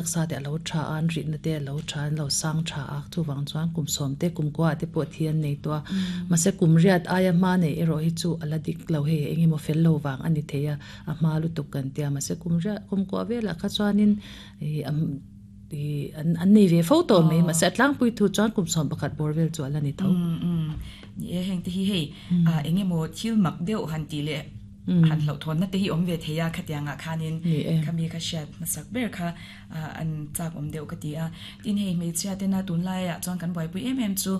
Taksa te a lo tha a, an rihna te a lo tha, an lo sang tha a, chuvang chuan kum sawm te kum kuaah te pawh thi an nei tawh a. Mahse kum riat aia hma neih erawh hi chu a la dik lo hei eng emaw fel lo vang a ni thei a, a hma lutuk kan tia. Mahse kum riat kum kuah velah kha chuanin ih ih an an nei ve fo tawh mai. Mahse a tlangpui thu chuan kum 11 bawr vel chu a la ni tho. Ni e, heng te hi hei eng emaw thil mak deuh han tih leh han hlauhthawnna te hi awm ve thei a, khatiangah khanin khami kha hriat hmasak ber kha an chak awm deuh ka ti a. Tin hei hmeichhia tena tunlaiah chuan kan buaipui em em chu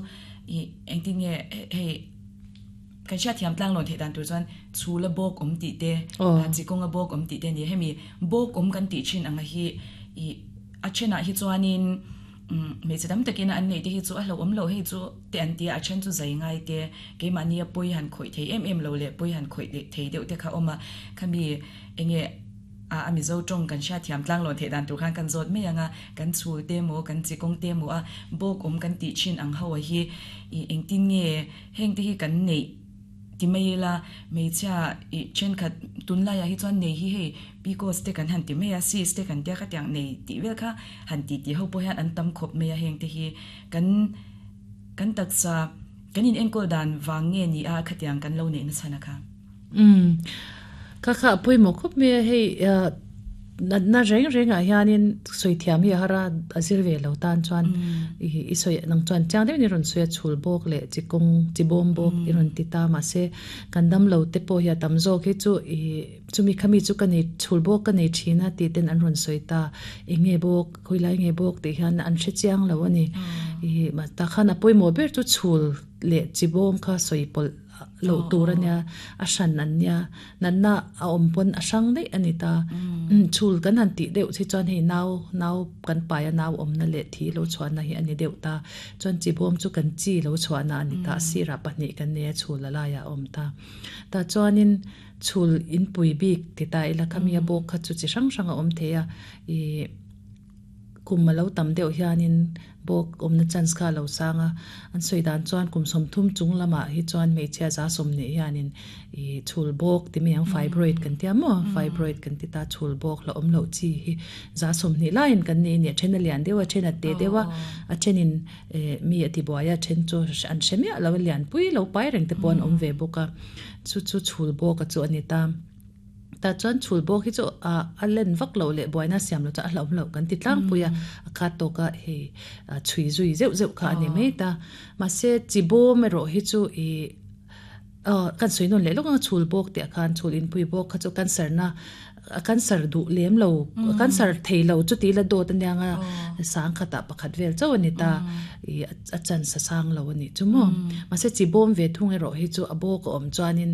ih engtin nge hei kan hriatthiam tlanglawn theih dan tur chuan chhula bawk awm tih te, chikawnga bawk awm tih te a ni. Hemi bawk awm kan tih thin anga hi ih a thenah hi chuanin Hmeichhe tam takin an neih te hi chu a hlauhawm loh hei chu te an ti a, a then chu zai ngai te, keimahnia pawi han khawih thei em em lo leh pawi han khawih leh thei deuh te kha a awm a, khami enge a a Mizo tawng kan hriatthiam tlanglawn theih dan tur khan kan zawt mai ang a, kan chhul te maw kan chi kawng te maw a bawk awm kan tih thin ang ho a hi ih engtin nge heng te hi kan neih Ti mai ila, hmeichhia ih thenkhat tunlaiah hi chuan nei hi hei PCOS te kan han ti mai a, cyst te kan tia khatiang nei tih vel kha han ti tih ho pawh hian an tam khawp mai a, heng te hi kan kan taksa kan in enkawl dan vang nge ni a khatiang kan lo neih nachhan a kha. Umm kha kha a pawimawh khawp mai a, hei Natna reng rengah hianin sawi thiam hi a har a, a zir ve lo tan chuan i sawi nang chuan chiang deuhin i rawn sawi a, chhul bawk leh chi kawng chi bawm bawk i rawn ti ta mahse kan dam lo te pawh hi a tam zawk hi chu i chumi khami chu ka nei chhul bawk ka nei thin a tih ten an rawn sawi ta eng nge bawk khawilai nge bawk tih hian an hre chiang lo a ni. I tah khan a pawimawh ber chu chhul leh chi bawm kha sawi pawlh loh tur a nia, a hran an nia, natna a awm pawn a hrang daih a ni ta. Chhul kan han tih deuh hi chuan hei nau, nau kan pai a nau awmna leh thi lo chhuahna hi a ni deuh ta. Chuan chibawm chu kan chi lo chhuahna a ni ta, a sirah pahnih kan nei a, chhul a laiah a awm ta. Tah chuanin chhul inpui bik ti ta ila khami a bawk kha chu chi hrang hrang a awm thei a, ih. Kum a lo tam deuh hianin bawk awmna chance kha a lo sang a, an sawi dan chuan kum 30 chung lamah hi chuan hmeichhia za 20 hianin ih chhul bawk ti mai ang fibroid kan tia maw fibroid kan ti ta chhul bawk la awm loh chi hi za 20 laiin kan nei a ni a then a lian deuh a then a te deuh a a thenin eh mi a ti buai a then chu an hre miah lo a lianpui lo pai reng te pawh an awm ve bawk a chu chu chhul bawk a chu a ni ta. Tah chuan chhul bawk hi chu a len vak loh leh buaina siam loh chuan a hlauhawm loh kan ti tlangpui a, a khat tawk a hei chhui zui zeuh zeuh kha a ni mai ta. Mahse chi bawm erawh hi chu ih aw kan sawi nawn leh lawk ang a chhul bawk tih ah khan chhul inpui bawk kha chu cancer na a cancer duh lem lo cancer thei lo chuti la dawt ania nga sang khatah pakhat vel chauh a ni ta ih a chance a sang lo a nih chu maw. Mahse chi bawm ve thung erawh hi chu a bawk a awm chuanin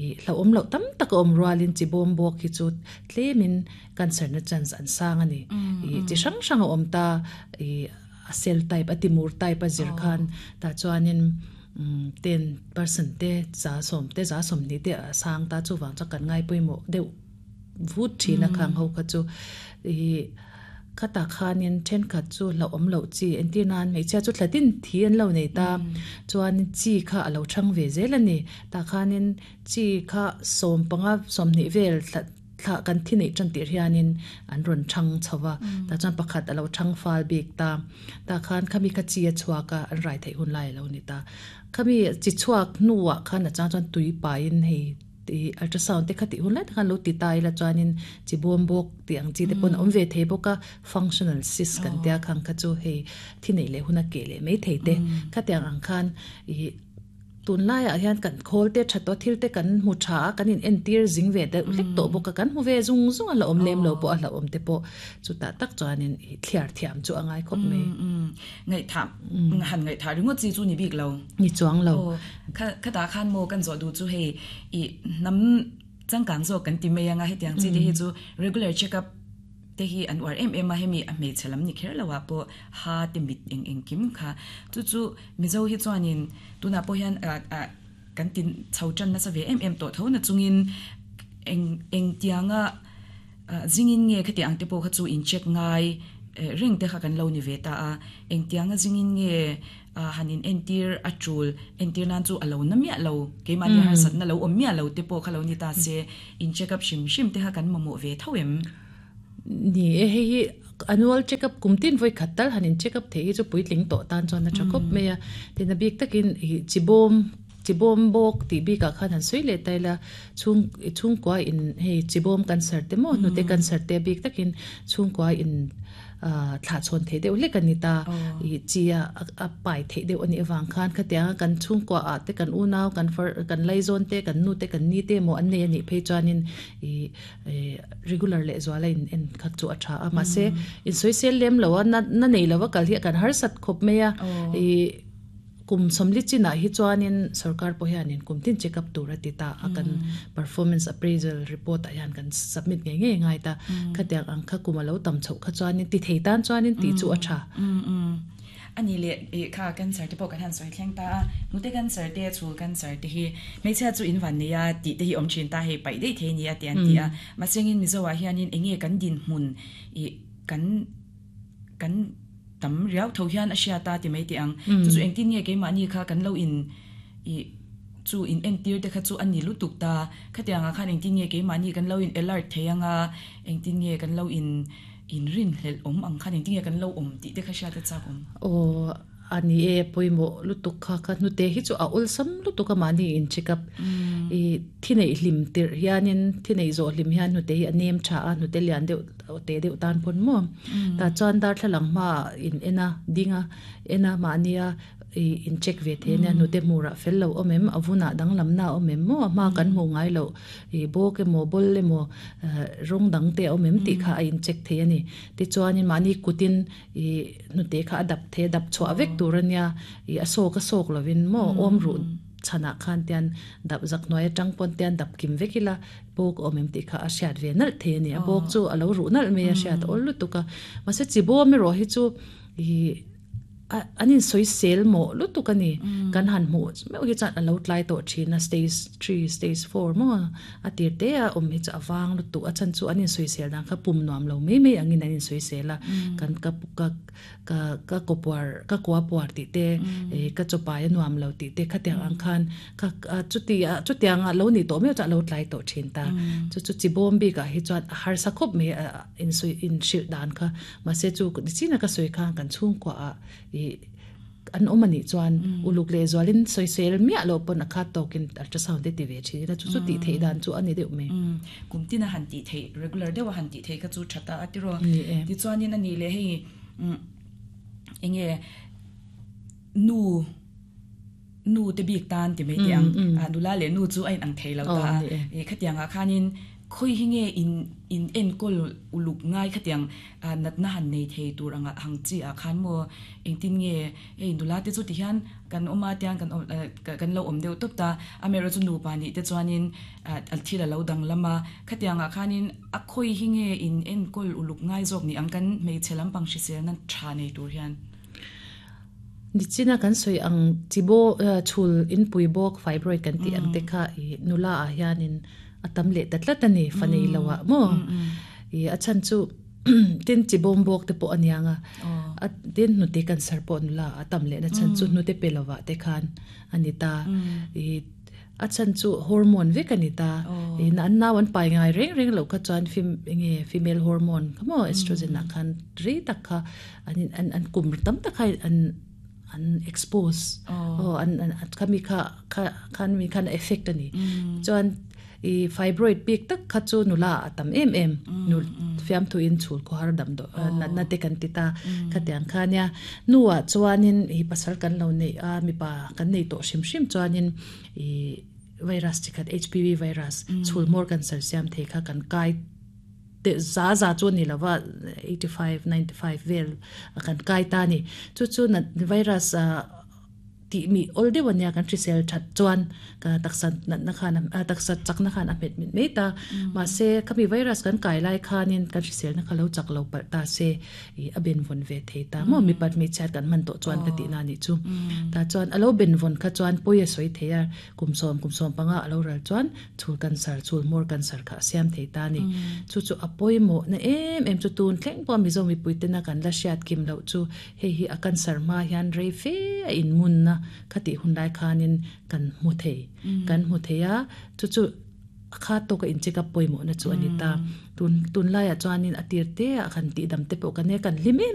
Ih hlauhawm loh tam tak a awm rualin chi bawm bawk hi chu tlemin cancer na chance an sang a ni. Ih chi hrang hrang a awm ta, ih a cell type a timur type a zir khan tah chuanin umm 10% te 10% te 20 te a sang ta chuvang chuan kan ngai pawimawh deuh vut thin a khang ho kha chu. Ih. Khatah khanin thenkhat chu hlauhawm loh chi entir nan hmeichhia chu thlatin thi an lo nei ta chuan chi kha a lo thang ve zel a ni. Tah khanin chi kha 15 20 vel thla thla kan thi neih tan tir hianin an rawn thang chho va tah chuan pakhat a lo thang fal bik ta. Tah khan khami kha chi a chhuak a an rai theih hun lai a lo ni ta. Khami chi chhuak hnuah khan a chang chuan tui paiin hei. Tih ultrasound te kha tih hun lai tak khan lo ti ta ila chuanin chi bawm bawk tih ang chi te pawn a awm ve thei bawk a, functional cyst kan tia khang kha chu hei thi neih leh hun a keh leh mai thei te. Khatiang ang khan ih tunlaiah hian kan khawl te tha tawh thil te kan hmu tha a, kan in entir zing ve deuh hlek tawh bawk a, kan hmu ve zung zung a la awm lem lo pawh a hlauhawm te pawh chutah tak chuanin ih thliar thiam chu a ngai khawp mai. Ngaihthah han ngaihthah ringawt chi chu ni bik lo. Ni chuang lo. Aw, kha khatah khan maw kan zawh duh chu hei i hnam changkang zawk kan ti mai anga hetiang chi te hi chu regular check up te hi an uar em em a hemi a hmeichhe lam ni kher lo ah pawh ha te mit eng engkim kha chu chu Mizo hi chuanin tunah pawh hian ah ah kan ti chho tan nasa ve em em tawh tho na chungin eng engtianga Zingin nge khatiang ang te pawh kha chu in check ngai reng te kha kan lo ni ve ta a, engtianga zingin nge han in entir a tul entir nan chu a lo na miah lo, keimahni harsatna lo awm miah lo te pawh kha lo ni ta se, in check up hrim hrim te kha kan mamawh ve tho em? Ni e, hei hi. Annual check up kum tin vawi khat tal han in check up theih hi chu puitling tawh tan chuan a tha khawp mai a. Tin a bik takin ih chibawm chibawm bawk tih bikah khan han sawi leh ta ila chhung chhungkua in hei chibawm cancer te maw hnute cancer te a bik takin chhungkua in ah thlah chhawn theih deuh hlek a ni ta. Ih chi a a pai theih deuh a nih avang khan khatianga kan chhungkua ah te kan unau kan far kan laizawn te kan nu te kan ni te emaw an nei a nih phei chuanin ih regular leh zual a in en khat chu a tha a mahse in sawisel lem lo a na na nei lo a kal hi a kan harsat khawp mai a ih kum sawmli chinah hi chuanin sorkar pawh hianin kum tin check up tur a ti ta a kan performance appraisal report ah hian kan submit ngei ngei ngai ta khatiang ang kha kum a lo tam chhoh kha chuanin ti thei tan chuanin tih chu a tha. A ni leh ih kha cancer te pawh kan han sawi thleng ta a, hnute cancer te, chhul cancer te hi hmeichhia chu in van nei a tih te hi awm thin ta hei paih daih thei a ni a ti an ti a. Mahsengin Mizo ah hianin eng nge kan dinhmun ih kan kan tam riau tho hian a hriat a ti mai teh ang. Chu chu engtin nge keimahni kha kan lo in ih chu in entir te kha chu a ni lutuk ta. Khatiang ah khan engtin nge keimahni kan lo in alert thei ang a, engtin nge kan lo in Inrinhlelh awm ang khan engtin nge kan lo awm tih te kha hriat a chak awm. Aw, a ni e, pawimawh lutuk kha ka hnute hi chu a awlsam lutuk a mahni in check up. I thi neih hlim tirh hianin thi neih zawh hlim hian hnute hi a nem tha a, hnute lian deuh te deuh tan pawn maw. Tah chuan darthlalang hmaah in en a, ding a, en a mahnia I in check ve thei ania hnute hmurah fel lo awm em, a vunah danglamna a awm em maw, a hma kan hmuh ngai loh i bawk emaw bawl emaw rawng dang te a awm em tih kha a in check thei a ni. Tichuanin mahni kutin i hnute kha a dap thei a, dap chhuah vek tur ania i a sawk a sawk lovin maw awm ruh chhanah khan tian dap zak hnuai atang pawn tian dap kim vek ila bawk a awm em tih kha a hriat ve nalh thei a ni. A bawk chu a lo ruh nalh mai a hriat a awl lutuk a, mahse chi bawm erawh hi chu i An insawisel mawh lutuk a ni. Kan han hmuh meuh hi chuan a lo tlai tawh thin a, stage three, stage four maw a tir te a awm hi chu a vang lutuk. A chhan chu an insawisel dan kha pum nuam lo mai mai angin an insawisel a, kan ka ka ka ka kaw puar ka kua puar tih te, ka chaw pai a nuam lo tih te khatiang ang khan kha chuti a chutiang a lo nih tawh meuh chuan a lo tlai tawh thin ta. Chu chu chi bawm bikah hi chuan a harsa khawp mai a insawi inhrilh dan kha. Mahse chu nichin a ka sawi khan kan chhungkua ah ih an awm anih chuan uluk leh zualin sawisel miah loh pawn a khat tawkin ultrasound te ti ve thin ila chu chu tih theih dan chu a ni deuh mai. Kum tin a han tih theih regular deuh a han tih theih kha chu tha ta a tiraw. Ni e. Tichuanin a nih leh hei eng nge nu nu te bik tan ti mai teh ang nula leh nu chu a inang thei lo ta a ih khatiang ah khanin khawi hi nge in in enkawl uluk ngai khatiang natna han nei thei tur anga hang chi ah khan maw engtin nge hei nula te chu ti hian kan awm a tiang kan awm kan lo awm deuh tawp ta amaherawhchu chu nupa nih te chuanin thil a lo danglam a khatiang ah khanin a khawi hi nge in enkawl uluk ngai zawk ni ang kan hmeichhe lampang hriselna tha nei tur hian. Nichina kan sawi ang chi baw chhul inpui bawk fibroid kan tih ang te kha i nula ah hianin a tam leh ta tlat a ni fa nei lo ah maw i a chhan chu tin chi bawm bawk te pawh a niang a a tin hnute cancer pawh nula ah a tam leh na chhan chu hnute pe lo ah te khan a ni ta i A chhan chu hormone vek a ni ta. In an nau an pai ngai reng reng loh kha chuan fem enge female hormone kha maw estrogen ah khan rei tak kha an in an an kum tam tak kha an an expose aw an an khami kha kha khan mi khan a effect a ni. Chuan i fibroid bik tak kha chu nula ah a tam em em nu fiamthu in chhul khawhar damdawi natna te kan ti ta khatiang kha nia. Hnuah chuanin i pasal kan lo neih a mipa kan nei tawh hrim hrim chuanin I virus chi khat HPV virus chhul hmawr cancer siam thei kha kan kai te za za chu ani lova 85 95 vel kan kai ta a ni. Chu chu virus tih mi awl deuh ania kan hrisel that chuan ka taksa natna khan a taksa chakna khan a hmet mit mai ta. Mahse khami virus kan kai lai khanin kan hriselna kha lo chak lo palh ta se. Ih a benvawn ve thei ta maw mipat hmeichhiat kan hman tawh chuan ka tih na nih chu. Tah chuan a lo benvawn kha chuan pawi a sawi thei a, kum sawm kum sawm panga a lo ral chuan chhul cancer chhul hmawr cancer kha a siam thei ta a ni. Chu chu a pawimawh na em em chu tun thleng pawh Mizo mipui tena kan la hriat kim loh chu hei hi a cancer hma hian rei fe a inmunna kha tih hun lai khanin kan hmu thei kan hmu thei a chu chu. A kha tawka in check up pawimawhna chu a ni ta. Tun tunlaiah chuanin a tir te ah kan tihdam te pawh kan e kan hlim em.